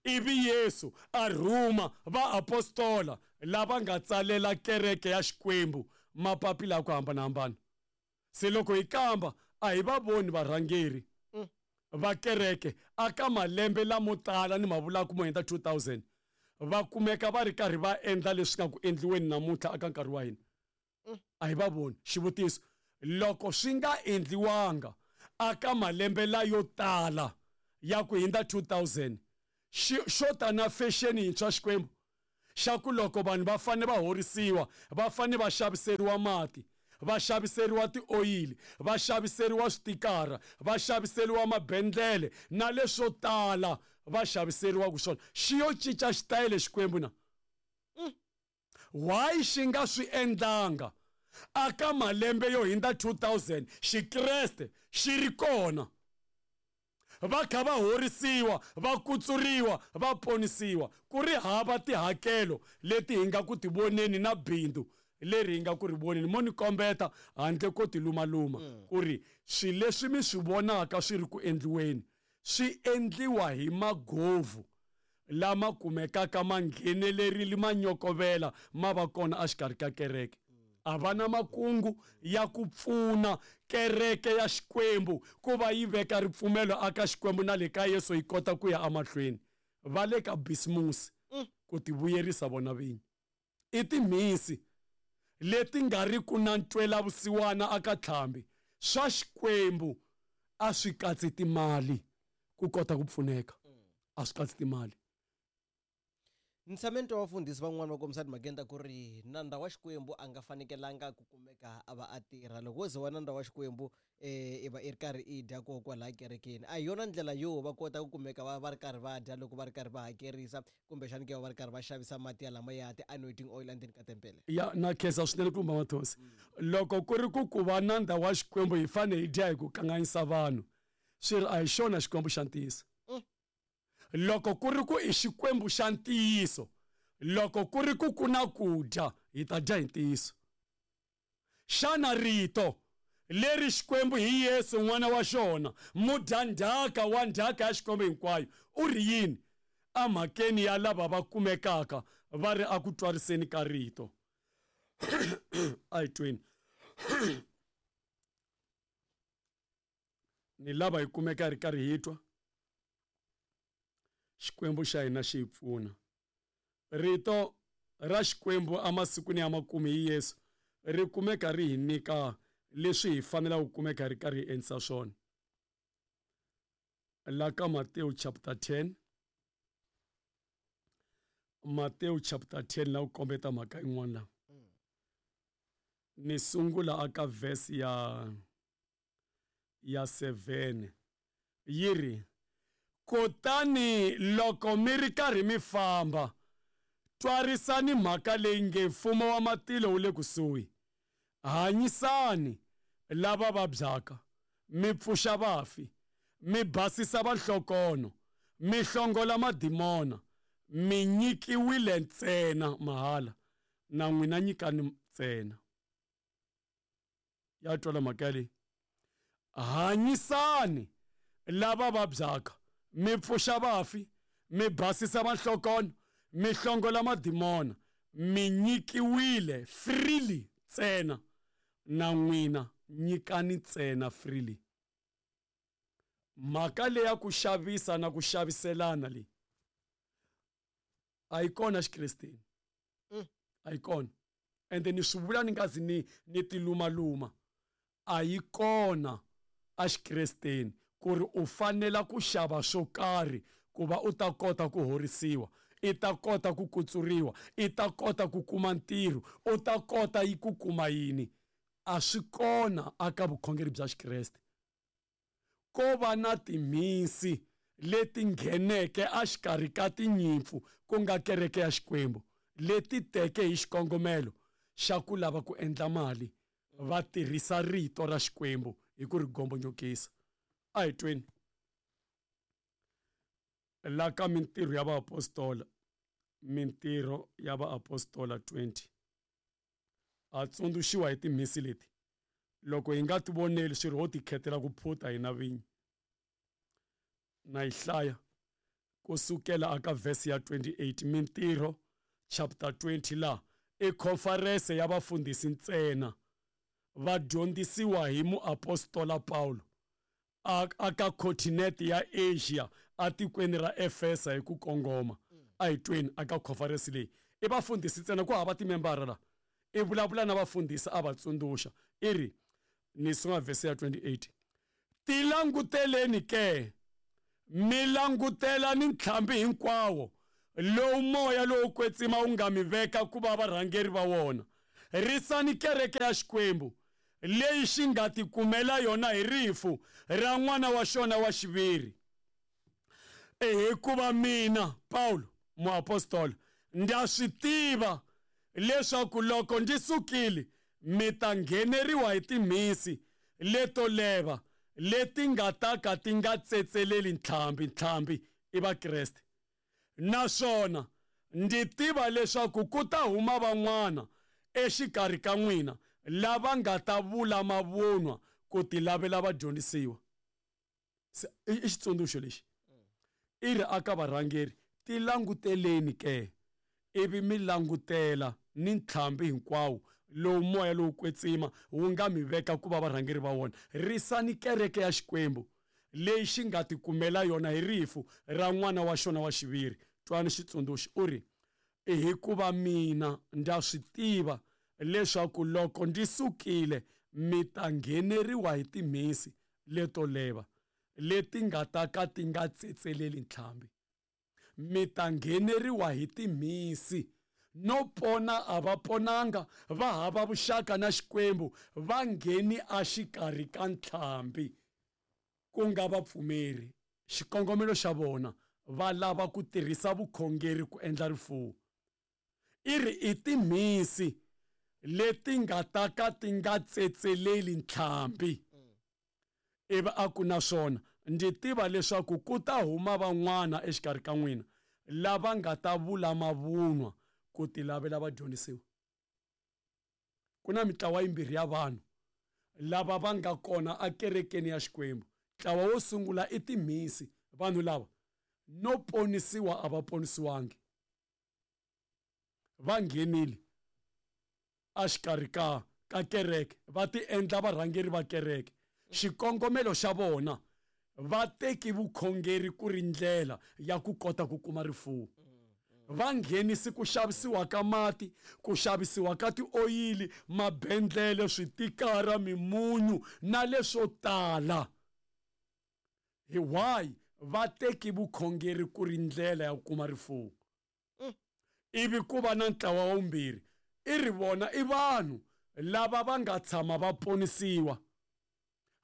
Ivi Yesu a rhuma vaapostola lava nga tsalela kereke ya Xikwembu mapapila ya ku hambanahambana. Se loko hi kamba a hi va voni varhangeri. Va kereke aka malembe lamo tala ni ma vulaka mo hundza 2000 va kumeka va ri karhi va endla leswi nga ku endliweni namuntlha aka nkarhi wa hina? A hi va voni. Xivutiso, loko swi nga endliwanga aka malembe layo tala ya ku hundza 2000, xi xo ta na fexeni yintshwa Xikwembu xa ku loko vanhu va fanele va horisiwa va fanele va xaviseriwa mati, va xaviseriwa tioyili, va xaviseriwa switikara, va xaviseriwa mabendlele na leswo tala va xaviseriwaka swona, xi yo cinca xitayele Xikwembu na? Why xi nga swi endlanga aka malembe yo hindza 2000 Xikreste xi ri kona? Va kha va horisiwa, va kutsuriwa, va ponisiwa, ku ri hava tihakelo leti hi nga ku ti voneni na bindzu leri hi nga ku ri voneni. Mo ni kombeta handle ko tilumaluma ku ri swilo leswi mi swi vonaka swi ri ku endliweni swi endliwa hi magovhu lama kumekaka ma nghenelerile ma nyokovela ma va kona exikarhi ka kereke. A va na makungu ya ku pfuna kereke ya Xikwembu ku va yi veka ripfumelo aka Xikwembu na le ka Yesu yi kota ku ya emahlweni. Va le ka bisimusi ku tivuyerisa vona vinyi. I timhisi leti nga ri ku na ntwelavusiwana aka tlhambi. Swa Xikwembu a swi katsi timali ku kota ku pfuneka. A swi katsi timali. Ni tshame ni twa vafundhisi van'wani va kombisa timhakeni ta ku ri nandza wa Xikwembu a nga fanekelanga ku kumeka a va a tirha. Loko wo ze wa nandza wa Xikwembu i va i ri karhi i dya koho kwalaya kerekeni, a hi yona ndlela yo va kota ku kumeka va va ri karhi va dya loko va ri karhi va hakerisa kumbexani ke va va ri karhi va xavisa mati ya lama ya ti-anointing oil endzeni ka tempele. Ya na khensa swinene ku lumba Mathonsi. Loko ku ri ku ku va nandza wa Xikwembu hi fanele hi dya hi ku kanganyisa vanhu, swi ri a hi xona Xikwembu xa ntiyiso. Loko ku ri ku i Xikwembu xa ntiyiso, loko ku ri ku ku na ku dya, hi ta dya hi ntiyiso. Xana rito leri Xikwembu hi Yesu N'wana wa xona, mudyandzhaka wa ndzhaka ya Xikwembu hinkwayo, u ri yini emhakeni ya lava va kumekaka va ri eku twariseni ka rito? A hi tweni. Ni lava hi kumeka hi ri karhi hi twa. Xikwembu xa hina xi hi pfuna. Rito ra Xikwembu emasikwini ya makumu hi Yesu ri kumeka ri hi nyika leswi hi fanelaka ku kumeka hi ri karhi hi endlisa swona. La ka Matewu chapter 10, Matewu chapter 10 la ku kombeta mhaka yin'wana la. Ni sungula aka verse ya 7 yi ri, Kutani loko mi ri karhi mi famba, twarisani mhaka leyi nge Mfumo wa matilo wu le kusuhi. Hanyisani lava vabyaka, mi pfuxa vafi, mi basisa vanhlokonho, mi hlongola madimona, mi nyikiwile ntsena mahala, na n'wina nyikani ntsena. Ya twala mhaka yaleyi. Hanyisani lava vabyaka, mi pfuxa vafi, mi basisa vanhlokonho, mi hlongola madimona, mi nyikiwile freely ntsena, na n'wina nyikani ntsena freely. Mhaka leya ku xavisa na ku xaviselana leyi a yi kona xikresteni. A yi kona. Ende ni swi vula ni nga zi ni ni tilumaluma, a yi kona exikresteni ku ri u fanela ku xava swo karhi ku va u ta kota ku horisiwa, i ta kota ku kutsuriwa, i ta kota ku kuma ntirho, u ta kota yi ku kuma yini. A swi kona aka vukhongeri bya Xikreste. Ko va na timhisi leti ngheneke exikarhi ka tinyimpfu, ku nga kereke ya Xikwembu, leti teke hi xikongomelo xa ku lava ku endla mali, va tirhisa rito ra Xikwembu hi ku ri gombonyokisa. A hi tweni la ka Mintirho ya Vaapostola, Mintirho ya Vaapostola 20. Ha tsundzuxiwa hi timhisi leti. Loko hi nga ti voneli swi ri ho tikhetela ku phuta hina vinyi. Na yi hlaya ku sukela aka verse ya 28, Mintirho chapter 20 la i khonferese ya vafundhisi ntsena va dyondzisiwa hi muapostola Pawulo. aka continent ya Asia atikweni ra Efesa hi ku kongoma. A hi tweni aka conference leyi i vafundhisi ntsena ku hava timembara la i vulavula na vafundhisi a va tsundzuxa i ri ni sunga vhesi ya 28 tilanguteleni ke mi langutela ni ntlhambi hinkwawo lowu moya lowo kwetsima wu nga mi veka ku va varhangeri va wona risani kereke ya Xikwembu leyi xi nga tikumela yona hi rifu ra n'wana wa xona wa xiviri. Hikuva mina Pawulo muapostola ndza swi tiva leswaku loko ndzi sukile mi ta ngheneriwa hi timhisi leto leva leti nga ta ka ti nga tsetseleli ntlhambi. Ntlhambi i Vakreste. Naswona ndzi tiva leswaku ku ta huma van'wana exikarhi ka n'wina lava nga ta vula mavunwa ku tilavela vadyondzisiwa. I xitsundzuxo lexi i ri aka varhangeri tilanguteleni ke ivi mi langutela ni ntlhambi hinkwawo lowu moya lowu kwetsima wu nga mi veka ku va varhangeri va wona. Risani kereke ya Xikwembu leyi xi nga tikumela yona hi rifu ra n'wana wa xona wa xiviri. Twani xitsundzuxo u ri hikuva mina ndza swi tiva leswaku loko ndzi sukile mi ta ngheneriwa hi timhisi leto leva leti nga ta ka ti nga tsetseleli ntlhambi. Mi ta ngheneriwa hi timhisi no pona a va ponanga va hava vuxaka na Xikwembu va ngheni exikarhi ka ntlhambi ku nga vapfumeri. Xikongomelo xa vona va lava ku tirhisa vukhongeri ku endla rifuwo. I ri i timhisi leti nga ta ka ti nga tsetseleli ntlhambi. Ivi a ku naswona ndzi tiva leswaku ku ta huma van'wana exikarhi ka n'wina lava nga ta vula mavunwa ku tilavela vadyondzisiwa. Ku na mitlawa yimbirhi ya vanhu lava va nga kona akerekeni ya Xikwembu. Ntlawa wo sungula i timhisi. Vanhu lava no ponisiwa a va ponisiwangi, va nghenile exikarhi ka kereke va ti endla varhangeri va kereke. Xikongomelo xa vona va teki vukhongeri ku ri ndlela ya ku kota ku kuma rifuwo. Va nghenisi ku xavisiwa ka mati, ku xavisiwa ka tioyili, mabendlele, switikara, mimunyu na leswo tala. Hi why va teki vukhongeri ku ri ndlela ya ku kuma rifuwo? Ivi ku va na ntlawa wa vumbirhi i ri vona i vanhu lava va nga tshama va ponisiwa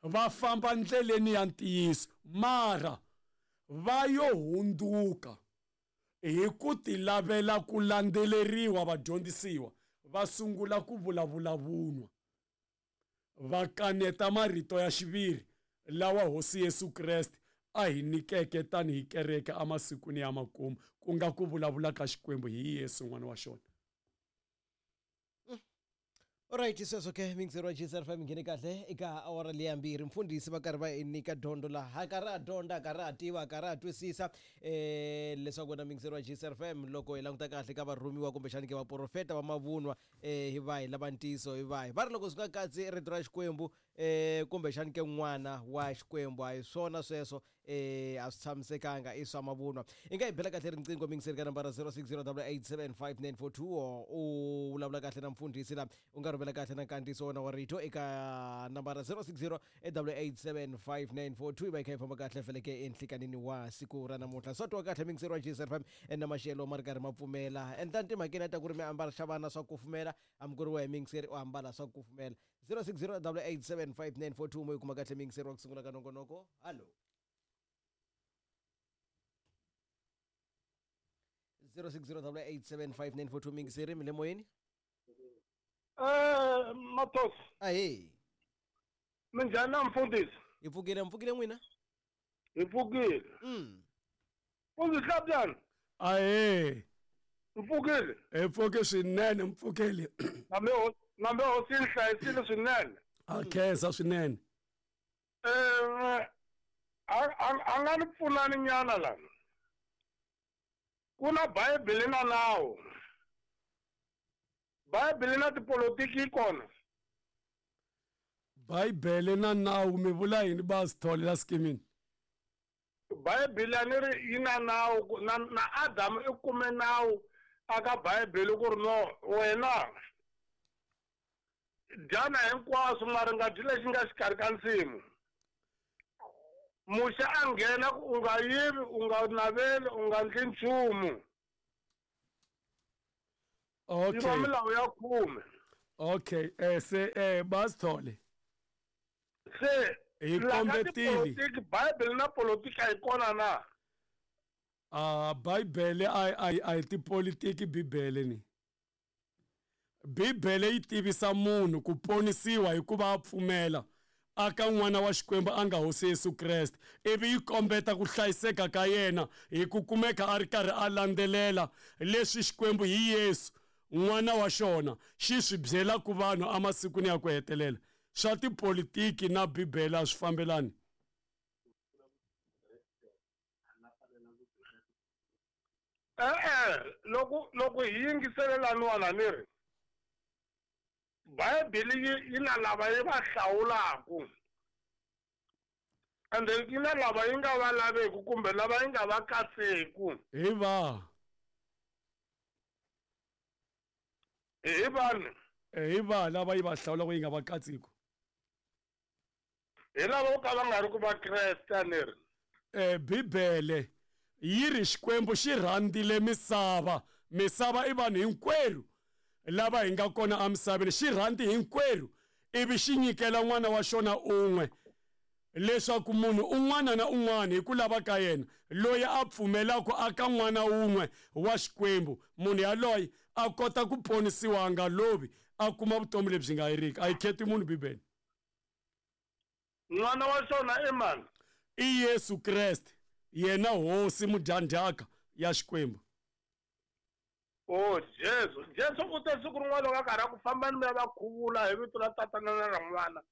va famba ndleleni ya ntiyiso mara va yo hundzuka hi ku tilavela ku landzeleriwa vadyondzisiwa va sungula ku vulavula vunwa va kaneta marito ya xiviri lawa Hosi Yesu Kreste a hi nyikeke tanihi kereke emasikwini ya makumu ku nga ku vulavula ka Xikwembu hi Yesu n'wana wa xona. Alright, sweswo ke mixer wa GSR 5 nghene kahle eka awara leya mbirhi. Mfundhisi va karhi va hi nyika dyondzo laha, karhi a dyondza, karhi a tiva, karhi a twisisa leswaku wena mixer wa GSR 5 loko hi languta kahle ka varhumiwa kumbexani ke vaprofeta va mavunwa hi vahi lava ntiyiso hi vahi. Va ri loko swi nga katsi rito ra Xikwembu kumbexani ke n'wana wa Xikwembu a hi swona sweswo, a swi tshamisekanga, i swa mavunwa. I nga hi bela kahle riqingho mixer ka nambara 0608875942 u vulavula kahle na mfundhisi la u nga rhumela kahle na nkandziyiso wona wa rito eka nambara 0608875942 i va yi kha yi famba kahle feleke enhlikanini wa siku ra namuntlha. Swa twa kahle mixer wa GSR 5 na maxelo ma ri karhi ma pfumela. Endla timhakeni ta ku ri mi ambala xa vana swa kufumela, hambi ku ri wehe mixer u ambala swa kufumela. 0608875942 mo yi kuma kahle mixer wa ku sungula ka nongonoko. Hallo. 0608875942 mixer mi le moyeni. Matos. Ahee. Minjhani na mfundhisi? Hi pfukile, mpfukile n'wina? Hi pfukile. Mfundhisi Hlabyana. Ahee. Mpfukile. Hi pfuke swinene, mpfukile. Nambe hosi yi hlayisile swinene. A khensa swinene. A nga ni pfunani nyana la. Ku na Bibele na nawu. Bibele na tipolotiki yi kona. Bibele na nawu mi vula yini ba Sithole la skimini? Bibele a ni ri yi na nawu na Adamu i kume nawu aka Bibele ku ri no wena dyana hinkwaswo mara nga dyi lexi nga xikarhi ka nsimu. Muxe a nghena ku u nga yivi, u nga naveli, u nga ndli nchumu. Okay. Yi va milawu ya 10. Okay, se ba Sithole. Se hi kombetile. Bible na politiki a yi kona na? Ah, Bible a hi tipolitiki Bibele ni. Bibele yi tivisa munhu ku ponisiwa hikuva a pfumela aka n'wana wa Xikwembu a nga Hosi Yesu Kreste, ivi yi kombeta ku hlayiseka ka yena hi ku kumeka a ri karhi a landzelela leswi Xikwembu hi Yesu n'wana wa xona xi swi byelaka vanhu emasikwini ya ku hetelela. Swa tipolitiki na Bibele a swi fambelani. E-e, loko hi yingiselelaniwana ni ri Bibele yi na lava yi va hlawulaku, and then yi na lava yi nga va laveku kumbe lava yi nga va katseku. Hi va. Hi vanhu. Hi va lava yi va hlawulaku yi nga va katseku. Hi lava vo ka va nga ri ku va Kreste a ni ri. Bibele yi ri Xikwembu xi rhandzile misava. Misava i vanhu hinkwerhu lava hi nga kona emisaveni, xi rhandzi hinkwerhu ivi xi nyikela n'wana wa xona un'we leswaku munhu un'wana na un'wana hi ku lava ka yena loyi a pfumelaka aka n'wana wun'we wa Xikwembu, munhu yaloye a kota ku ponisiwa a nga lovi, a kuma vutomi lebyi nga heriki. A yi kheti munhu Bibele. N'wana wa xona i mani? I Yesu Kreste, yena Hosi mudyandzhaka ya Xikwembu. Oh, Jesu. Jesu u te siku rin'wana loko a karhi a ku fambani mi ya va khuvula hi vito ra Tatana na ra N'wana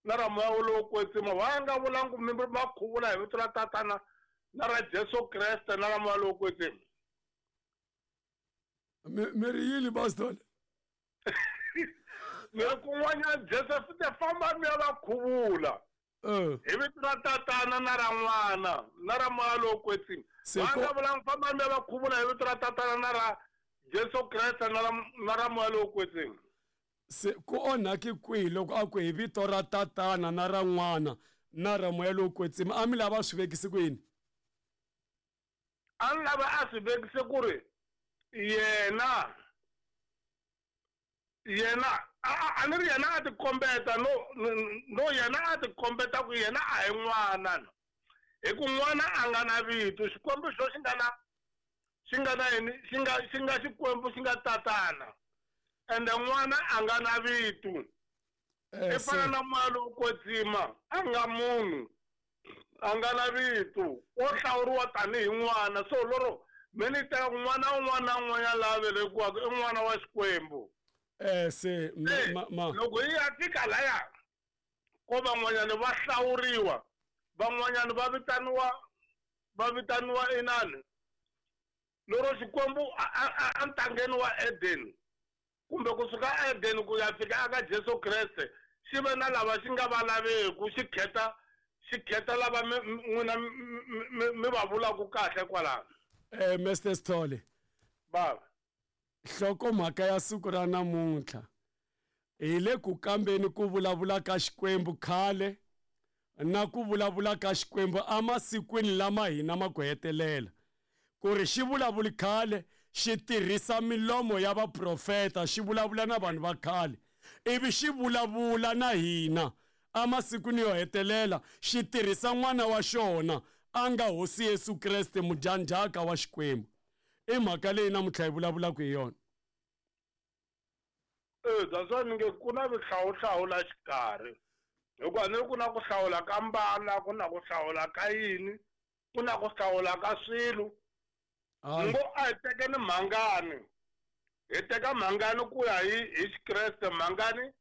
na ra Moya lowo Kwetsima. Wa nga vulangi ku mi va khuvula hi vito ra Tatana na ra Jesu Kreste na ra Moya lowo Kwetsima. Mi ri yini, Pastor? Mi ri kun'wanyana Jesu u te fambani mi ya va khuvula hi vito ra Tatana na ra N'wana na ra Moya lowo Kwetsima. Va nga vulangi fambani mi ya va khuvula hi vito ra Tatana na ra Jesu Kreste na ra Moya lowo Kwetsima. Se ku onhaki kwihi loko a ku hi vito ra Tatana na ra N'wana na ra Moya lowo Kwetsima? A mi lava swi vekisi ku yini? A ni lava a swi vekise ku ri yena a ni ri yena a tikombeta no yena a tikombeta ku yena a hi n'wana, hi ku n'wana a nga na vito. Xikwembu xo xi nga na xi nga na yini, xi nga xi nga Xikwembu xi nga Tatana, ende n'wana a nga na vito. I fana na Moya lowo Kwetsima, a nga munhu, a nga na vito, wo hlawuriwa tanihi n'wana. So loro mi ni teka ku n'wana un'wana na un'wanyana laha velekiwaka i n'wana wa Xikwembu. Se loko hi ya fika laya ko van'wanyana va hlawuriwa, van'wanyana va vitaniwa inani. Loro Xikwembu a ntangeni wa Eden, kumbe kusuka Eden ku ya fika aka Jesu Kreste, xi ve na lava xi nga va laveku, xi kheta lava n'wina mi va vulaka kahle kwalano. Mr Sithole. Baba. Nhlokomhaka ya siku ra namuntlha hi le ku kambeni ku vulavula ka Xikwembu khale na ku vulavula ka Xikwembu emasikwini lama hina ma ku hetelela. Ku ri xi vulavuli khale xi tirhisa milomo ya vaprofeta, xi vulavula na vanhu va khale, ivi xi vulavula na hina emasikwini yo hetelela xi tirhisa n'wana wa xona a nga Hosi Yesu Kreste mudyandzhaka wa Xikwembu. I mhaka leyi namuntlha hi vulavulaka hi yona. That's why ni nge ku na vuhlawuhlawu la xikarhi, hikuva ni ri ku na ku hlawula ka mbala, ku na ku hlawula ka yini, ku na ku hlawula ka swilo. Ngo a hi tekeni mhangani, hi teka mhangani ku ya hi Xikreste. Mhangani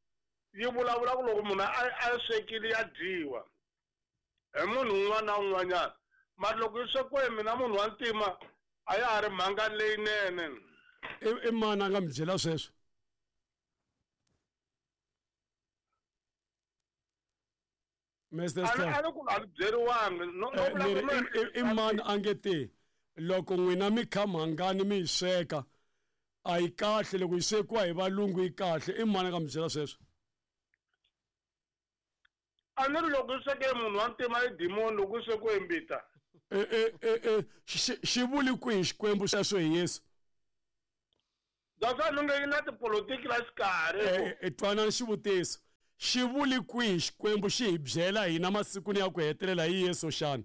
yi vulavula ku loko munhu a swekile ya dyiwa hi munhu un'wana na un'wanyana, mara loko yi swekiwe hi mina munhu wa ntima a ya ha ri mhangani leyinene. I mani a nga mi byela sweswo? Mr. A Sithole. ni a ni ku a ni byeriwangi no no Eh, vula ni ku ri no i mani a nge te loko n'wina mi kha mhangani mi yi sweka a yi kahle loko yi swekiwa hi valungu yi kahle i mani a nga mi byela sweswo a ni ri loko yi sweke munhu wa ntima i dimoni loko yi swekiwe hi mbita E, e, e, e, xi vuli kwihi xikwembu sweswo hi Yesu that's why ni nge yi na tipolotiki la xikarhi E, e, twanani xivutiso xi vuli kwihi xikwembu xi hi byela hina masikwini ya ku hetelela hi Yesu xana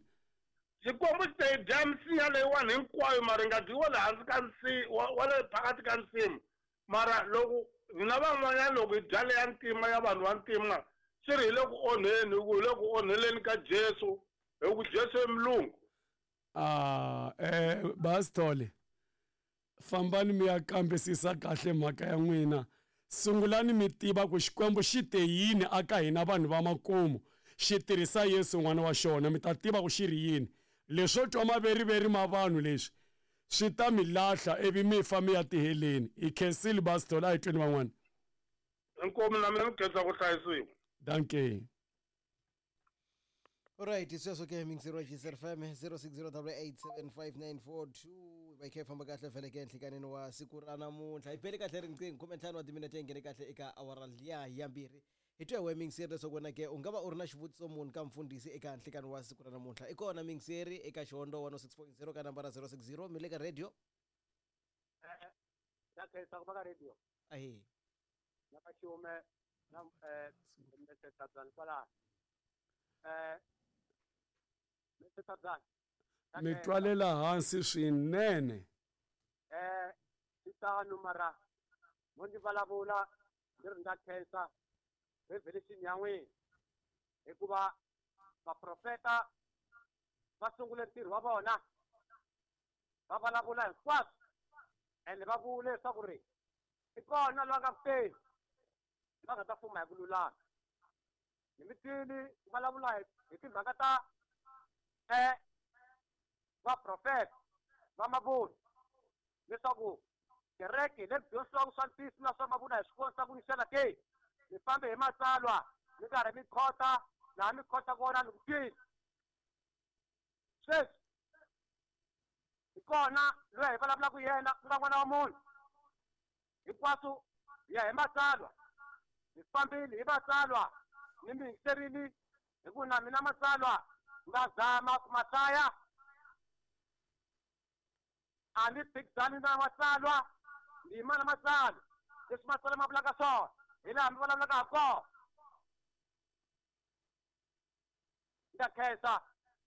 xikwembu xi ta yi dya misinya leyiwani hinkwayo mara yi nga dyiwa le hansi ka nsi wa le phakathi ka nsimu mara loko hina van'wanyana loko hi dya leya ntima ya vanhu va ntima swi ri hi le ku onheni hi ku hi le ku onheleni ka Jesu hi ku Jesu i mulungu Ah, Basithole fambani mi ya kambisisa kahle mhaka ya n'wina sungulani mi tiva ku xikwembu xi te yini aka hina vanhu va makumu xi tirhisa Yesu n'wana wa xona mi ta tiva ku xi ri yini leswo twa maveriveri ma vanhu leswi swi ta mi lahla ivi mi fa mi ya tiheleni hi khensile Basithole a hi tweni van'wana inkomu na mina ni khensa ku hlayisiwa danke Alright, sweswo ke mixer wa GCR FM 0608875942 va kha hi famba kahle vhele ke nhlikaneni wa siku ra namuntlha hi bele kahle riqingho 15 wa timinete yi nghene kahle eka awara liya ya mbirhi hi twa hi we mixeri leswaku wena ke u nga va u ri na xivutiso muni ka mfundhisi eka nhlikani wa siku ra namuntlha i kona mixeri eka xihondo 106.0 ka nambara 060 mi le ka radio Na khensa ku va ka radio ahe na ka xiume na Mr. Tsabyani kwalano Mr. Tsabyani na mi khensa. twalela hansi swinene Swi tano mara mo ndzi vulavula ndzi ri ndza khensa revelation ya n'wina hikuva vaprofeta va sungule ntirho wa vona va vulavula hinkwaswo ende va vule leswaku ri i kona loyi a nga kuteni va nga ta fuma hi ku lulama ni mi twile ku vulavula hi timhaka ta vaprofeta va mavunwa leswaku kereke leyi dyondzisiwaka swa ntiyiso na swa mavunwa hi swi vonisa ku yini xana ke mi fambe hi matsalwa mi karhi mi khota laha mi khota kona ni ku twile sweswi hi kona loyi hi vulavulaka yena ku nga n'wana wa munhu hinkwaswo hi ya hi matsalwa hi fambile hi matsalwa ni mi yingiserile hi ku na mina matsalwa nga zama ku ma hlaya a ni phikizani na matsalwa ni yima na matsalwa leswi matsalwa ma vulaka swona hi laha mi vulavulaka ha kona ndza khensa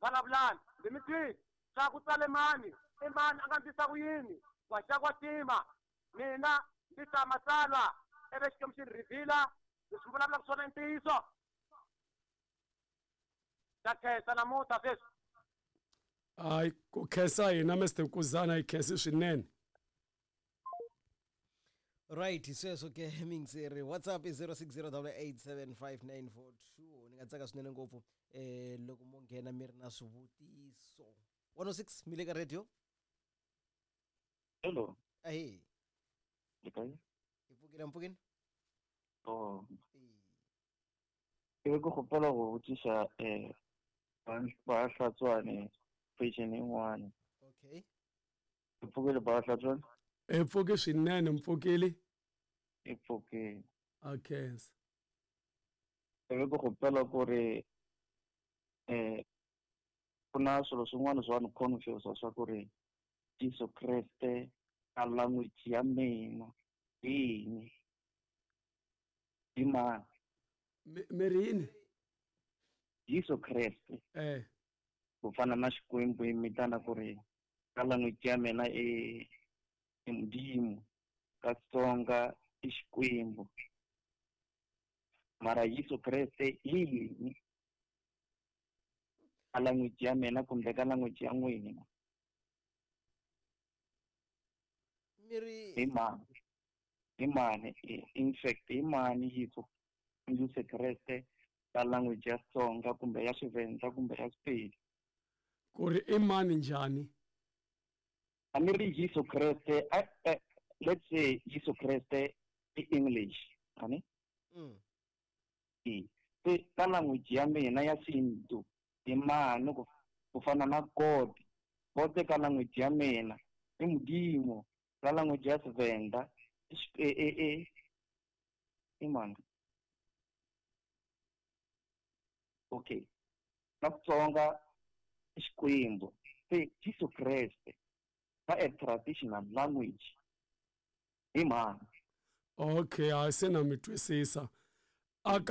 vulavulani ndzi mi twile swa ku tsale mani i mani a nga ndlisa ku yini wa xa kwa tima mina ndzi ta matsalwa ivi xikwembu xi ni reveal-a leswi mi vulavulaka swona i ntiyiso ndza khensa namuntlha sweswi hayi ku khensa hina Mr Kuzana hi khensi swinene right sweswo ke mixeri whatsapp i 0608875942 ni nga tsaka swinene ngopfu loko mo nghena mi ri na swivutiso 106 mi le ka radio Hello. ahe Le kae? hi pfukile mpfukini Oh. Ke be ke kgopela go botšiša ba Hlatswane question e nngwana. Okay. Ke pfukile ba Hlatswane? E pfuke swinene mpfukile. E pfukile. A khensa. Ke be ke kgopela gore go na swilo swin'wana swa ni confuse swa ku ri Jesu Kreste ka language ya mina hi yini? Hi mani? Mi ri yini? Jesu Kreste. Ku fana na Xikwembu hi mitana ku ri ka language ya mina i Modimo, ka Xitsonga i Xikwembu. Mara Jesu Kreste i yini? Ka language ya mina kumbe ka language ya n'wina. Mi ri Hi mani? Hi mani? In fact, hi mani Jesu Kreste ka language ya Xitsonga kumbe ya Xivenda kumbe ya Sepedi? Ku ri i mani njhani? A ni ri Jesu Kreste, let's say Jesu Kreste i English, ani? Se ka language ya mina ya xintu i mani ku fana na God. God ka language ya mina i Modimo. Ka language ya Tshivenda i i mani? Okay. Ka Xitsonga i Xikwembu. Se Jesu Kreste ka a traditional language i mani? Okay, hayi se na mi twisisa. Aka